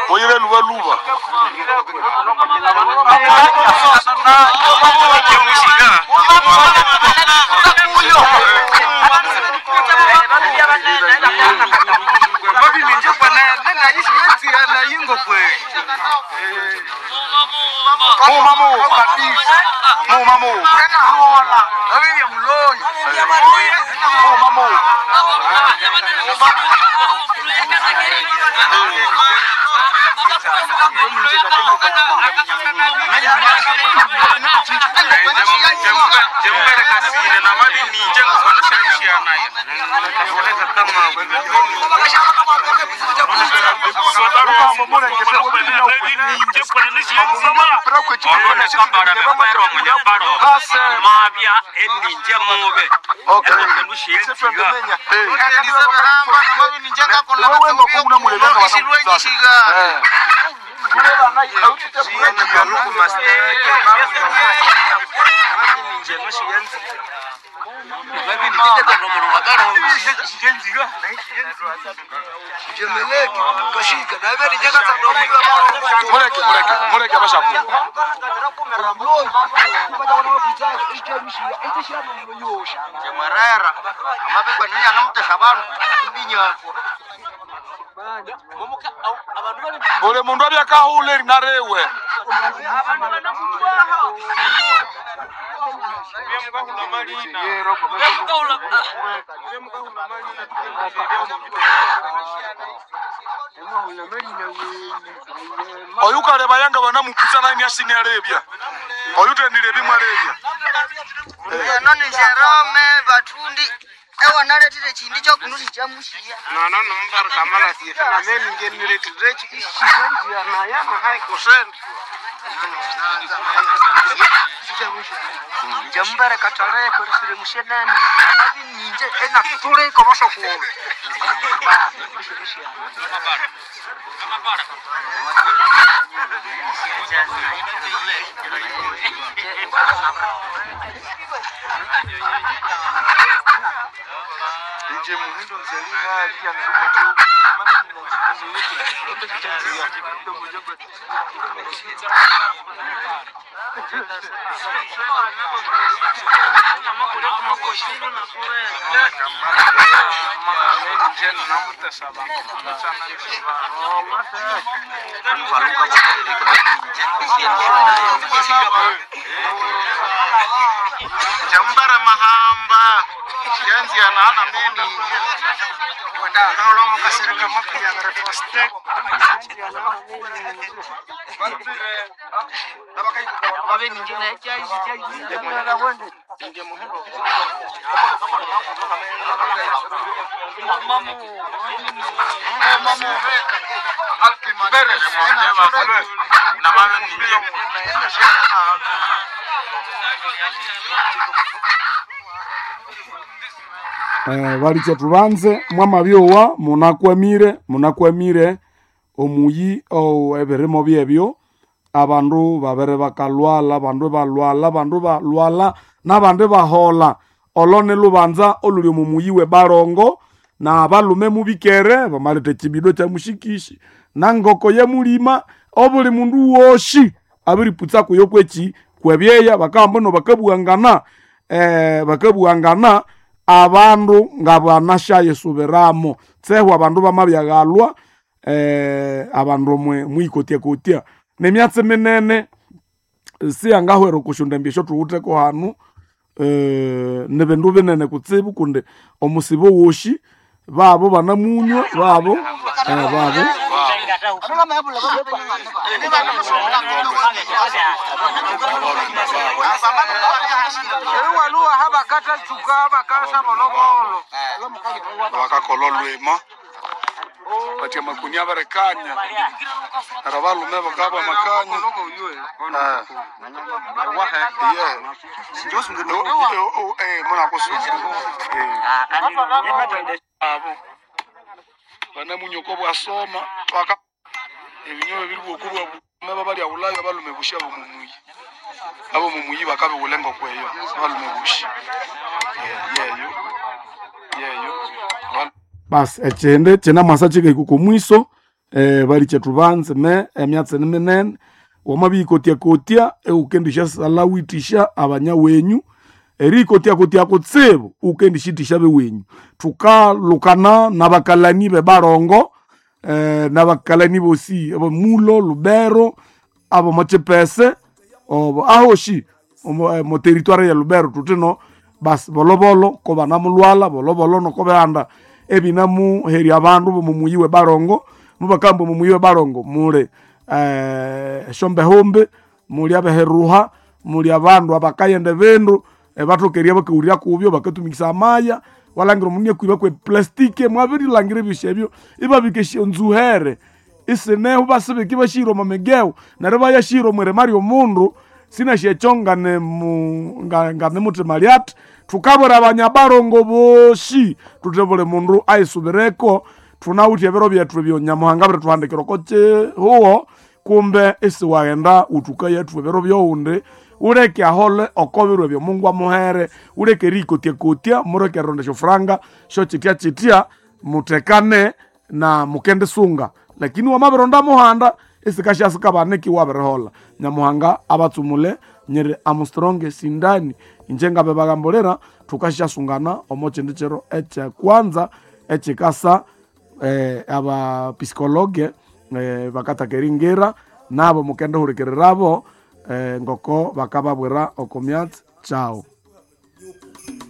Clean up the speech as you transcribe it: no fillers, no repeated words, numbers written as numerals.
Muyire luba luba. Muma mu Muma mu. Muma mu. Mabya eninje mube Mureke mureke mureke abashaku. Mwerera amabikwa niyanamutesha bandu imbinyakwa. Buli mundu abyakahula erinarewe. Oyu kaleba yanga banamukuza naye myasini alebya. Oyu tendile bimwe alebya. Eno ni Jerome Batundi ewanaletire chindi chokunusi chamushiya. Nono nomubari kamala siete name ninge niretire ishikanjia naya nahai kusenda. Njamubere kataleko risire mushenene mabi ninje enatuleko bashakuwe. Nje muhindo mzali hali ya nzuma tu. Jambara mahamba yanzia nana meni nolomo kasereka makuyagara foste. Balicha tubanze mwamabyowa munakwamire munakwamire omuyi oh, ebirimo byebyo abandu babere bakalwala abandu balwala abandu balwala nabandi bahola olo ni lubanza oluli omu muyi we barongo na abalume mubikere bamaleta ekibido kya mushikishi nangoko yemulima obuli mundu woshi abiriputsa kuyo kweki kwebyeya bakamba no bakabuangana bakabuangana abandu nga banashayisubiramo tsehwa abandu bamabyaghalwa abandu mwe mwikotyakotia nemyatsi minene siyangahwera okushunda embisho thuwutheko hanu nibindu binene kutsibu kundi omusibo woshi babo banamunywa babo babo Ewaluwa habakata chuka habakasa bolobolo. Bakakola olwema batia makunia barekanya nara balume bakaba makanya. Abo banamunyoko bwasoma baka ebinyobe biri bwoku bwa bume babalya bulayo abalume busha bumumuyi. Abo mumuyi bakabiwula engoko eyo abalume boshi. Yeyo yeyo. Basi echindi chinamwasa chikahika oko mwiso, bali kyethu banze me emyatsi ni minene wamabiyikotyakotia iwukendisyasalha withisya abanyawenyu eriyikotyakotia kutsibu iwukendisithisya abewenyu. Thukalukana nabakalani bebarongo, nabakalani bosi abemulo, Lubero, abomo Chipese obo ahoshi omo territoire ye Lubero thuthino basi bolobolo kobanamulhwalha bolobolo nokobihanda ebinamuherya abandu bomo muyi we barongo. Mubakamba omo muyi we barongo muli esyombehumbi, muli abeheruha, muli abandu abakayenda ebindu ebathoka bakawulira kubyo bakatumikisa amaya. Walangira omundu iniakwiba kwe plastiki mwabirilhangira ebyosi ebyo ibabika esyonzuhere isineho ibasibika ibashihira omo migewu neryo ibayashihira omwirima lyomundu sinasi ekyo nganimuthima lyathi. Thukabwira abanyabarongo bosi thuthi buli mundu ayisubireko thunawithe ebiro byethu ebyo Nyamuhanga abirithuhandikira oko kihugho kumbe isiwaghenda wuthukayathwa ebiro byowundi wuleke ahole oko biro ebyo Mungu amuhere wuleke eriyikotyakotia muleke erilonda esyofuranga syokyityakyitya muthekane na mukendisunga lakini wamabironda muhanda isikasyasikabana iwabiriholha. Nyamuhanga abatsumule nyiri Armstrong Sindani inje ngabibagambulira thukasyasungana omo kyindi kiro ekyekwanza ekyikasa abapsikologe bakataka eringira nabo mukendihulikirirabo ngoko bakababwira oko myatsi kyawu.